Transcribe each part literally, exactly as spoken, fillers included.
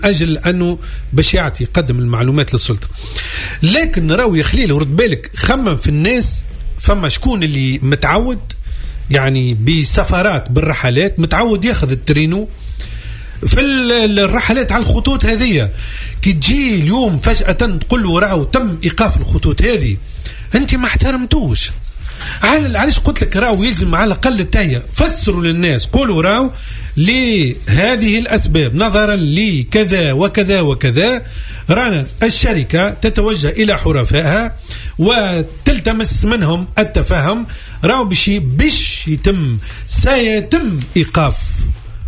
اجل انه باش يعطي يقدم المعلومات للسلطة. لكن راهو يا خليل ورد بالك، خمم في الناس، فما شكون اللي متعود يعني بسفرات بالرحلات، متعود ياخذ الترينو في الرحلات على الخطوط هذه. كي تجي اليوم فجأة تقول له راهو تم إيقاف الخطوط هذه، أنت ما احترمتوش. علاش قلت لك راهو يلزم على الأقل التهيئة، فسروا للناس، قولوا راهو لهذه الأسباب نظرا لكذا وكذا وكذا رانا الشركة تتوجه إلى حرفائها وتلتمس منهم التفاهم، راهو باش باش يتم سيتم إيقاف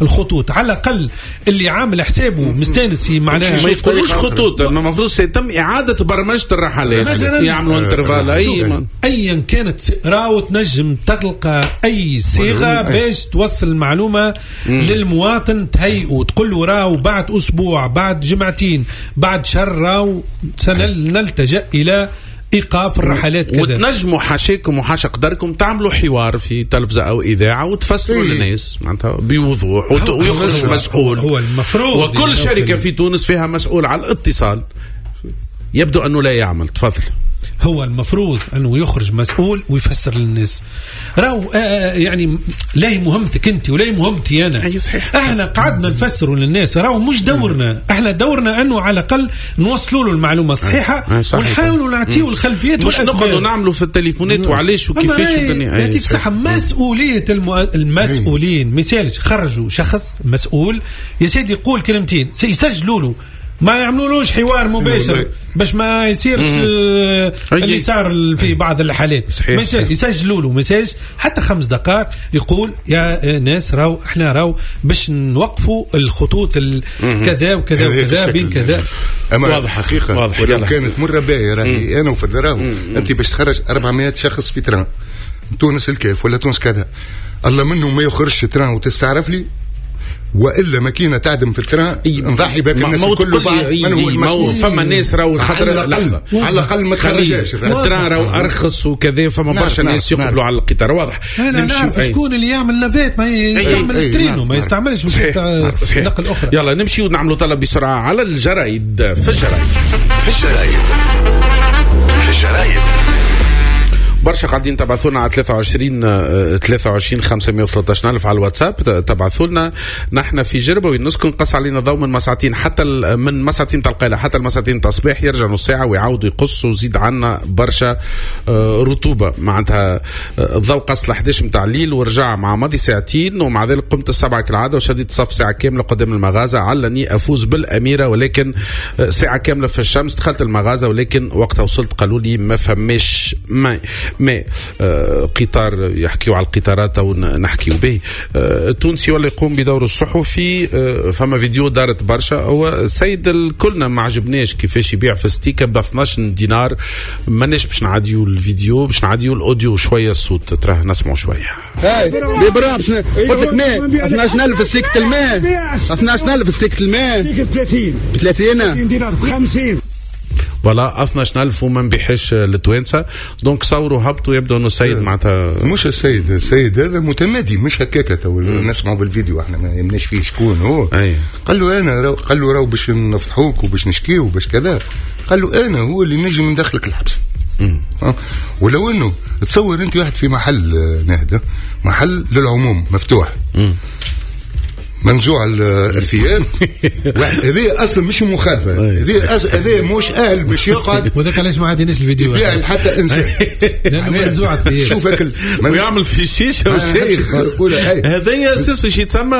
الخطوط. على الأقل اللي عامل حسابه مستانس معناها ما يقولوش خطوط، المفروض سيتم إعادة برمجة الرحلات، يعملوا intervalle اي ايا كانت، راهو تنجم تلقى اي صيغة باش توصل المعلومة للمواطن، تهيئة تقول له راهو بعد اسبوع، بعد جمعتين، بعد شهر راهو سنلتجأ الى ايقاف الرحلات كذا. وتنجموا حاشاكم وحاشا قدركم تعملوا حوار في تلفزه او اذاعة وتفسروا للناس معناتها بوضوح، ويخرج مسؤول. هو المفروض، وكل شركة في تونس فيها مسؤول على الاتصال، يبدو انه لا يعمل. تفضل. هو المفروض انه يخرج مسؤول ويفسر للناس راهو آه يعني لا هي مهمتك انت ولا هي مهمتي انا. اي صحيح. احنا قعدنا نفسروا للناس، راهو مش دورنا، احنا دورنا انه على الاقل نوصلوا له المعلومة الصحيحة ونحاولوا نعطيو الخلفيات، مش نقعدوا نعملوا في التليفونات وعلاش وكيفاش والدنيا. يعطيك الصحة. مسؤولية المؤ... المسؤولين مثال خرجوا شخص مسؤول يا سيدي يقول كلمتين، يسجلوا له، ما يعملولوش حوار مباشر باش ما يصيرش اللي صار في بعض الحالات. يسجلوا له message حتى خمس دقائق يقول يا ناس راو احنا راو باش نوقفوا الخطوط كذا وكذا وكذا بين كذا. اما واضح حقيقة واضح. ولو كانت مرة باهيه راهي انا وفي راهو انت باش تخرج أربعمائة شخص في train تونس الكاف ولا تونس كذا، الله منه ما يخرجش train وتستعرف لي، والا ماكينة تعدم في ال train نضحي بك الناس الكل بعد من هو المسؤول. فما ناس راهو خاطر على الاقل ما تخرجهاش ال train راهو ارخص وكذا، فما برشا ناس يقبلوا على القطار. واضح. نمشي شكون اللي يعمل navette ما يستعمل الترينو، ما يستعملش نقل اخرى. يلا نمشي ونعملوا طلب بسرعة على الجرايد. في الجرايد في الجرايد في الجرايد برشا قاعدين تبعثونا على ثلاثة وعشرين ثلاثة وعشرين خمسمية وثلاثة عشر ألف على الواتساب. تبعثوا لنا نحن في جربة وين نسكن قص علينا ضوء من مساعتين حتى من مساعتين تاع القايله حتى المساعتين تاع الصباح، يرجع نص ساعة ويعاودوا يقصوا وزيد عنا برشا رطوبة. معناتها الضوء قص ل أحد عشر نتاع الليل ورجع مع ماضي ساعتين، ومع ذلك قمت السبعة كالعادة وشديت صف ساعة كاملة قدام المغازه علني افوز بالاميره، ولكن ساعة كاملة في الشمس. دخلت المغازه ولكن وقتها وصلت قالوا لي ما فماش ما ما آه قطار. يحكيوا على القطارات او نحكيوا به. آه التونسي ولا يقوم بدوره الصحفي. آه فما فيديو دارت برشا، هو السيد الكلنا ما عجبناش كيفاش يبيع في ستيكه ب اثناش دينار. ماناش باش نعديو الفيديو، باش نعديو ال audio شوية، الصوت تراه نسمعوا شوية. هاي بيبرا باش قلت لك ماء اثناش ألف ستيكه الماء، اثناش ألف ستيكه الماء ثلاثين ثلاثين دينار خمسين voilà اثناش ألف وما نبيعش للتوانسه. donc صوروا هبطوا، يبدو انه السيد معناتها مش السيد، السيد هذا متمادي مش هكاكا. تو نسمعوا بالفيديو احنا ما يهمناش فيه شكون هو. أي. قال له انا رو... قال له راهو باش نفضحوك وباش نشكيو وباش كذا. قال له انا هو اللي نجم ندخلك الحبس. أه؟ ولو انه تصور انت واحد في محل نهده، محل للعموم مفتوح، مم. منزوع الثياب، هذه اصلا مش مخالفة، هذه هذه مش اهل باش يقعد. وذاك علاش ما عاديناش الفيديو يبيع حتى انسان منزوع الثياب شوف اكل ويعمل في الشيشة وشيء. هذايا اساسا شيء يتسمى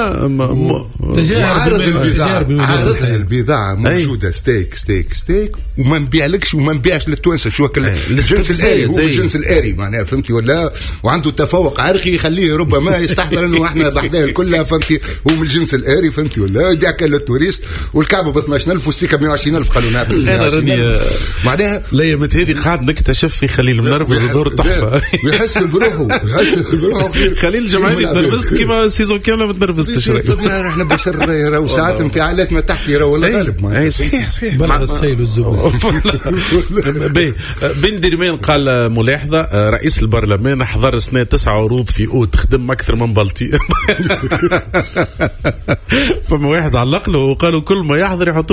تجارب البضاعة. عارض البضاعة موجودة steak steak steak وما نبيعلكش وما نبيعش للتوانسه. شو الجنس الاري، هو الجنس الاري معناها فهمتي ولا، وعنده تفوق عرقي يخليه ربما يستحضر انه احنا بحذاه كلها فهمتي، هو من الجنس الاري فهمتي ولا، يبيع كان لل touristes والكعبة ب اثناش ألف والسيكه ب مية وعشرين ألف. قالوا نعم انا راني معناها الايامات هذه قاعد نكتشف في خليل منرفز ظهور تحفة، ويحس بروحه يحس بروحه خليل الجمعاني تنرفزت كيما saison كاملة ما تنرفزتش. احنا بشر راهو ساعات انفعالاتنا تحكي راهو والله غالب. اي صحيح صحيح بلغ السيل والزبد. بن درمان قال ملاحظة، رئيس البرلمان حضر سنة تسعة عروض في اوت، خدم اكثر من بلطي. فما واحد علق له وقالوا كل ما يحضر يحط